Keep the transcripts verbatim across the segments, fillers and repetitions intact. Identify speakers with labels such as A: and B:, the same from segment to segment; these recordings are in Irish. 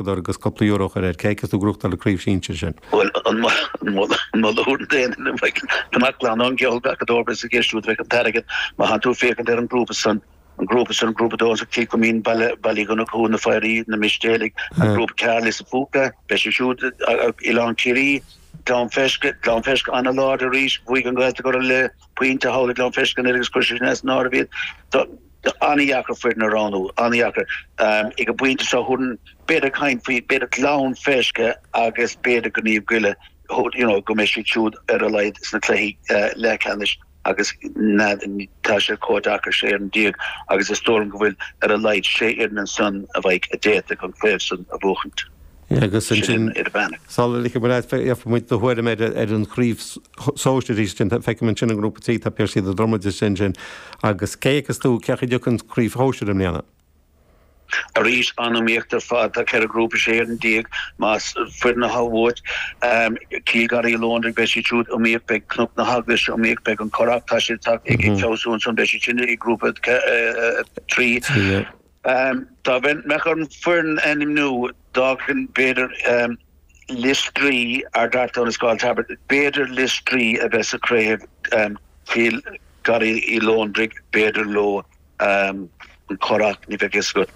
A: agus cúpla euro a chur air, cé fheiceas tú ag gnóthachtáil an chraobh sinsir sin?
B: Bhuel, an moladh a thabharfainn d'aon duine, bheadh go mbeadh glan an gceol gach a dóibh is ag éisteacht bheadh an t-airgead má thánn tú ag féachaint ar an ngrúpa san, an grúpa san, grúpa a dó, Cill Chuimín, Baile, Baile Uí Dhonnchú, Na Foidhrí, Na Mistéalaigh, an grúpa ceathair, Lios an Phúca, beidh siad siúd, Oileán Ciarraí, Gleann Feisce, Gleann Feisce an-láidir arís, bhuaigh an Ghaeltacht orthu le pointe thall i nGleann Feisce anuraidh agus chuir sé sin as an áireamh iad. An-dheacair foireann a roghnú, an-dheacair. Ag an bpointe seo thabharfainn b'fhéidir caint faoi b'fhéidir Gleann Feisce agus b'fhéidir go Naomh Goille you know go mbeidh siad siúd ar a laghad sna cluichí leathcheannais agus tá sé chomh deacair sé fhoireann déag agus is dóigh liom go bhfuil ar a laghad sé fhoireann ansan a bheidh a d'fhéadfadh an chraobh san a bhuachaint.
A: Agus ansin, sula ligfidh muid leat, gheobhaidh muid do thuairim ar an chraobh sóisir arís ansin. Feicim ansin i ngrúpa trí, tá Piarsaigh na Dromoda ansin sin. Agus cé a fheiceas tú, cé acu a dtiocfaidh an chraobh shóisir i mbliana?
B: Arís, an-iomaíocht ar fad. Tá ceithre ghrúpa, sé fhoireann déag, más foireann atá uait. Cill Gharraí Lóndar, beidh siad siúd iomaíoch, beidh Cnoc na hEaglaise iomaíoch, beidh an Currach, tá siad ag feabhsú ansan, beidh siad sin i ngrúpa trí. Dá mbeadh orm foireann a ainmniú, d'fhágfainn b'fhéidir Lios Drí, Ard Fheartáin is Scoil Taibbirt, b'fhéidir Lios Drí a bheith sa chraobh, Cill Gharraí Uí Lóndraigh, b'fhéidir leo, an Currach, ní bheadh fhios agat.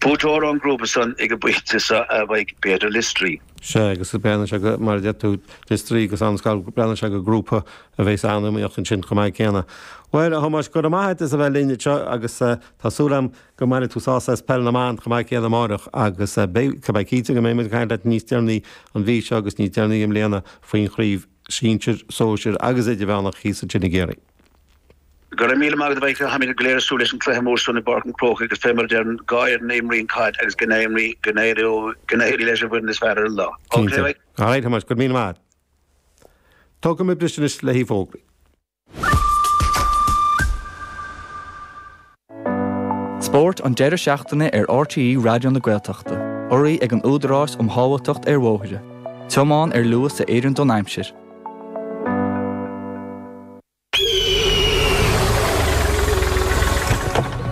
B: Buaiteoir ón ngrúpa san ag an bpointe seo a bheidh b'fhéidir Lios Drí.
A: Sea, agus breathnaíonn sé go, mar a deir tú, Lios Drí agus An Scoil, breathnaíonn sé go grúpa a bheas an-iomaíoch ansin chomh maith céanna. Bhuel, a Thomáis, go raibh maith agat as a bheith linn anseo agus tá súil agam go mbainfidh tú sásamh as Peil na mBan chomh maith céanna amáireach agus beidh, tá mé cinnte go mbeidh muid ag caint leat níos deireanaí an mhí seo agus níos deireanaí i mbliana faoin chraobh sinsir, sóisir agus idirmheánach thíos ansin i gCiarraí.
B: Go raibh míle maith agat a Mhichael, táimid go léir ag súil leis an cluiche mór san i bPáirc an Chrócaigh agus fé mar a deireann dhá fhoireann a imríonn caid agus go n-éirí, go n-éirí leis an bhfoireann is fearr ar an lá.
A: Cinnte. Ok, All right, Tomás, go raibh míle maith agat. Tógfaidh muid briseadh anois le haghaidh fógraí.
C: Spórt an deireadh seachtaine ar RTÉ Raidió na Gaeltachta, urraithe ag an Údarás um Shábháilteacht ar Bhóithre. Tiomáin ar luas a oireann don aimsir.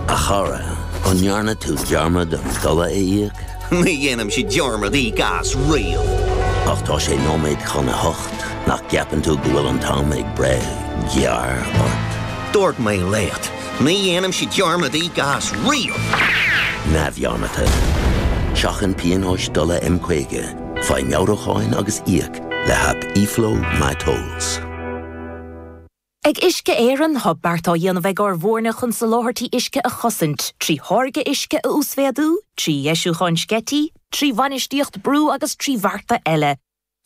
D: A chara, an ndearna tú dearmad an dola a íoc?
E: Ní dhéanaimse dearmad íoc as riamh.
D: Ach tá sé nóiméad chun a hocht, nach gceapann tú go bhfuil an t-am ag breith gearr ort?
E: Dúirt mé leat, ní dhéanaimse dearmad íoc as riamh!
D: Neamhdhearmadta. Seachain pionóis dola M caoga, faigh meabhrúcháin agus íoc le haip eFlow MyTolls.
F: Ag Uisce Éireann, tá beart á dhéanamh ag ár bhfoirne chun soláthairtí uisce a chosaint, trí tháirgeadh uisce a uasmhéadú, trí dheisiúcháin sceití, trí bhainistíocht brú agus trí bhearta eile.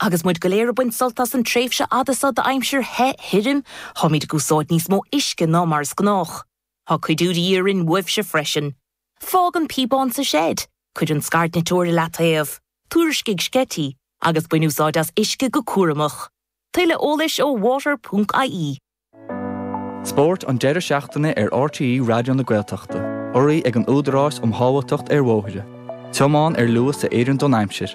F: Agus muid go léir ag baint sult as an tréimhse fhada seo d'aimsir the thirim, táimid ag úsáid níos mó uisce ná mar is gnách. Tá cuidiú de dhíth orainn uaibhse freisin. Fág an píobán sa seid, cuir an scairdniteoir i leataobh, tuairiscigh sceití, agus bain úsáid as uisce go cúramach. Tuilleadh eolais ó water ponc ie.
C: Spórt an deireadh seachtaine ar RTÉ Raidió na Gaeltachta, urraithe ag an Údarás um Shábháilteacht ar Bhóithre. Tiomáin ar luas a oireann don aimsir.